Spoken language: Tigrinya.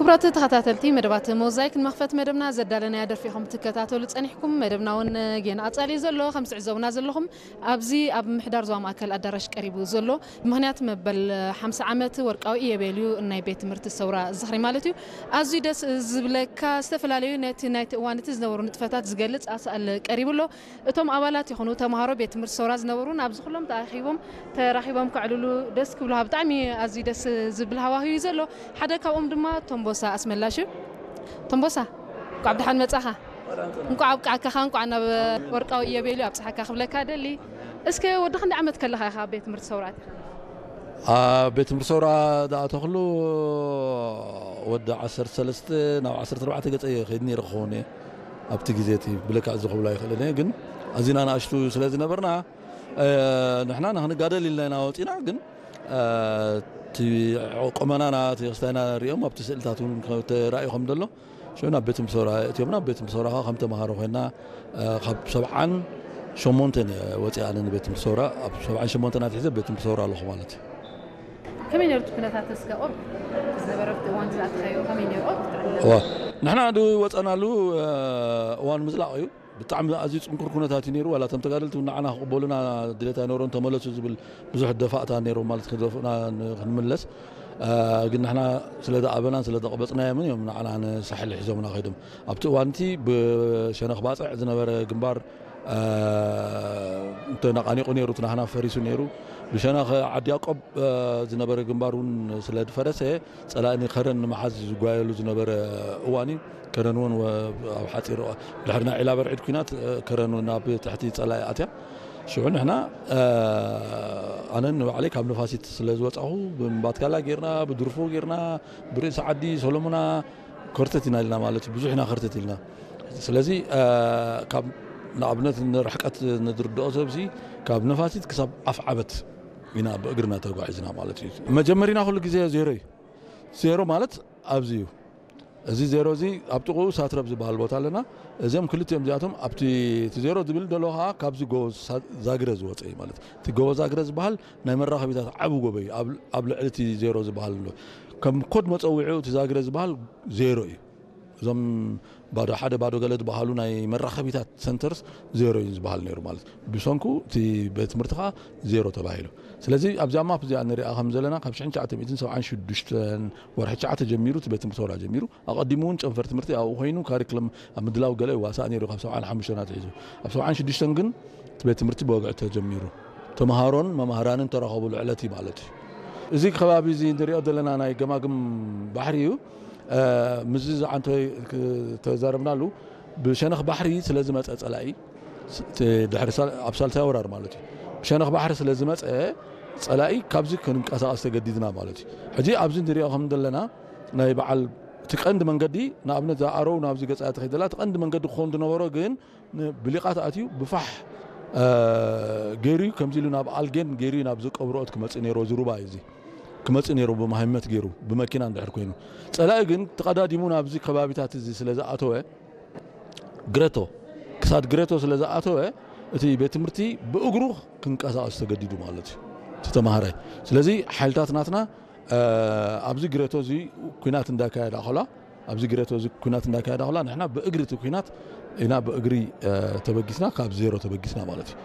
ክቡራት ተኸታተልቲ መደባት ሞዛይክ፣ ንመኽፈት መደብና ዘዳለናያ ደርፊ ኢኹም ትከታተሉ ጸኒሕኩም። መደብና እውን ጌና ኣጻሊ ዘሎ፣ ከም ትዕዘቡና ዘለኹም ኣብዚ ኣብ ምሕዳር ዞባ ማእከል ኣዳራሽ ቀሪቡ ዘሎ፣ ምኽንያት መበል ሓምሳ ዓመት ወርቃዊ ኢዮቤልዩ ናይ ቤት ትምህርቲ ሰውራ ዝኽሪ ማለት እዩ። ኣዝዩ ደስ ዝብለካ፣ ዝተፈላለዩ ነቲ ናይቲ እዋን እቲ ዝነበሩ ንጥፈታት ዝገልጽ ኣሳእል ቀሪቡ ኣሎ። እቶም ኣባላት ይኹኑ ተምሃሮ ቤት ትምህርቲ ሰውራ ዝነበሩ ናብዚ ኩሎም ተኣኪቦም ተራኺቦም ከዕልሉ ደስ ክብሉኻ። ብጣዕሚ ኣዝዩ ደስ ዝብል ሃዋህው እዩ ዘሎ። ሓደ ካብኦም ድማ ቶምቦሳ ኣስመላሽ እዩ። ቶምቦሳ፣ እንኳዕ ብደሓን መጻኻ። እንኳዕ ኣብቃዓካ፣ እንኳዕ ናብ ወርቃዊ ኢዮቤልዩ ኣብጽሓካ ክብለካ ደሊ። እስከ ወዲ ክንደይ ዓመት ከለኻ ኢኻ ኣብ ቤት ትምህርቲ ሰውራ ኣቲኻ? ኣብ ቤት ትምህርቲ ሰውራ ዝኣተኽሉ ወዲ ዓሰርተ ሰለስተ ናብ ዓሰርተ ኣርባዕተ ገጸ እየ ከይድ ነይረ ክኸውን እየ። ኣብቲ ግዜ እቲ ብለካ እዚ ክብሎ ኣይክእልን እየ፣ ግን ኣዚና ንኣሽቱ ስለ ዝነበርና፣ እ፣ ንሕና ንኽንጋደል ኢልና ኢና ወጺና፣ ግን፣ እ፣ እቲ ቁመናና፣ እቲ ክስታይና ሪኦም ኣብቲ ስእልታት እውን ተራእዩ ከም ዘሎ፣ ሽዑ ናብ ቤት ትምህርቲ ሰውራ እትዮምና። ኣብ ቤት ትምህርቲ ሰውራ ከዓ ከም ተምሃሮ ኮይና፣ እ፣ ካብ ሰብዓን ሸሞንተን እየ ወፂኣ ኣነ ንቤት ትምህርቲ ሰውራ። ኣብ ሰብዓን ሸሞንተን ኣትሒዘ ቤት ትምህርቲ ሰውራ ኣለኹ ማለት እዩ። ከመይ ነይሩ እቲ ኩነታት እስከ ቁሩብ ዝነበረ ኣብቲ እዋን ዝኣተኻዮ ከመይ ነይሩ? ቁሩብ ክትዕልለና። እዋ፣ ንሕና ዝወፀናሉ፣ እ፣ እዋን ምዝላቕ እዩ። ብጣዕሚ ኣዝዩ ጽንኩር ኩነታት እዩ ነይሩ። ዋላ እቶም ተጋደልቲ እውን ንዓና ክቕበሉና ድሌት ኣይነበሮም፣ ተመለሱ ዝብል ብዙሕ ደፋእታ ነይሮም ማለት ክደፍኡና ን-፣ ክንምለስ። እ፣ ግን ንሕና ስለ ዝኣበናን ስለ ዘቕበጽናዮምን እዮም ንዓና ንሳሕል ሒዞምና ከይዶም። ኣብቲ እዋን እቲ ብሸነኽ ባጽዕ ዝነበረ ግንባር፣ እ፣ ተነቓኒቑ ነይሩ፣ እቲ ናህና ፈሪሱ ነይሩ። ብሸነኽ ዓዲ ያቆብ፣ እ፣ ዝነበረ ግንባር እውን ስለ ዝፈረሰ፣ ጸላኢ ንከረን ንምሓዝ ዝጓየሉ ዝነበረ እዋን እዩ። ከረን እውን ወ-፣ ኣብ ሓጺር እዋ-፣ ድሕሪ ናይ ዒላ በርዒድ ኲናት፣ እ፣ ከረን እውን ኣብ ትሕቲ ጸላኢ ኣትያ። ሽዑ ንሕና፣ እ፣ ኣነ ንባዕለይ ካብ ነፋሲት ስለ ዝወጻኹ፣ ብምባትካላ ጌርና፣ ብድርፎ ጌርና፣ ብርእሲ ዓዲ ሰሎሙና ከርተት ኢና ኢልና ማለት እዩ። ብዙሕ ኢና ከርተት ኢልና። ስለዚ፣ እ፣ ካብ ንኣብነት ንርሕቀት ንዝርድኦ ሰብሲ ካብ ነፋሲት ክሳብ ኣፍ ዓበት ኢና ብእግርና ተጓዒዝና ማለት እዩ። መጀመሪና ኩሉ ግዜ ዜሮ እዩ። ዜሮ ማለት ኣብዚ እዩ። እዚ ዜሮ እዚ ኣብ ጥቕኡ ሳትረብ ዝበሃል ቦታ ኣለና። እዚኦም ክልቲኦም እዚኣቶም ኣብቲ፣ እቲ ዜሮ ዝብል ዘሎ ከዓ ካብዚ ጎቦ ሳ-፣ ዛግረ ዝወፀ እዩ ማለት። እቲ ጎቦ ዛግረ ዝበሃል ናይ መራኸቢታት ዓቢ ጎቦ እዩ። ኣብ፣ ኣብ ልዕሊ እቲ ዜሮ ዝበሃል ኣሎ። ከም ኮድ መፀውዒኡ እቲ ዛግረ ዝበሃል ዜሮ እዩ። እዞም ባዶ ሓደ ባዶ ገለ ዝበሃሉ ናይ መራኸቢታት ሰንተርስ ዜሮ እዩ ዝበሃል ነይሩ ማለት። ብሰንኩ እቲ ቤት ትምህርቲ ከዓ ዜሮ ተባሂሉ። ስለዚ ኣብዚኣ ማፕ እዚኣ ንሪኣ ከም ዘለና ካብ ሽሕን ትሽዓተ ሚእትን ሰብዓን ሽዱሽተን ወርሒ ትሽዓተ ጀሚሩ እቲ ቤት ትምህርቲ ሰውራ ጀሚሩ፣ ኣቐዲሙ እውን ጨንፈር ትምህርቲ ኣብኡ ኮይኑ ካሪክለም ኣብ ምድላው ገለ ይዋሳእ ነይሩ ካብ ሰብዓን ሓሙሽተን ኣትሒዙ። ኣብ ሰብዓን ሽዱሽተን ግን እቲ ቤት ትምህርቲ ብወግዒ ተጀሚሩ። ተምሃሮን መማህራንን ተራኸቡሉ ዕለት እዩ ማለት እዩ። እዚ ከባቢ እዚ ንሪኦ ዘለና ናይ ገማግም ባሕሪ እዩ። እ፣ ምስዚ ዝዓንተ ተዛረብናሉ ብሸነኽ ባሕሪ ስለ ዝመፀ ጸላኢ፣ ስ-፣ እቲ ድሕሪ ሳል-፣ ኣብ ሳልሳይ ወራር ማለት እዩ። ብሸነኽ ባሕሪ ስለ ዝመፀ ጸላኢ ካብዚ ክንንቀሳቐስ ተገዲድና ማለት እዩ። ሕጂ ኣብዚ ንሪኦ ከም ዘለና ናይ በዓል እቲ ቀንዲ መንገዲ፣ ንኣብነት እዛ ኣረው ናብዚ ገጻ ትኸይድ ዘላ፣ እቲ ቀንዲ መንገዲ ክኸውን ዝነበሮ ግን ን-፣ ብሊቓት ኣትዩ ብፋሕ፣ እ፣ ገይሩ እዩ። ከምዚ ኢሉ ናብ ኣልጌን ገይሩ እዩ ናብ ዝቀብርኦት ክመጽእ ነይሩ። እዚ ሩባ እዩ እዚ ክመጽእ ነይሩ ብመሃይመት ገይሩ ብመኪና እንድሕር ኮይኑ። ጸላኢ ግን ተቐዳዲሙ ናብዚ ከባቢታት እዚ ስለ ዝኣተወ፣ ግረቶ፣ ክሳድ ግረቶ ስለ ዝኣተወ፣ እቲ ቤት ትምህርቲ ብእግሩ ክንቀሳቐስ ተገዲዱ ማለት እዩ። እቲ ተማሃራይ። ስለዚ ሓይልታት ናትና፣ እ፣ ኣብዚ ግረቶ እዚ ኩናት እንዳካየዳ ከላ፣ ኣብዚ ግረቶ እዚ ኩናት እንዳካየዳ ከላ፣ ንሕና ብእግሪ እቲ ኩናት ኢና ብእግሪ፣ እ፣ ተበጊስና፣ ካብ ዜሮ ተበጊስና ማለት እዩ።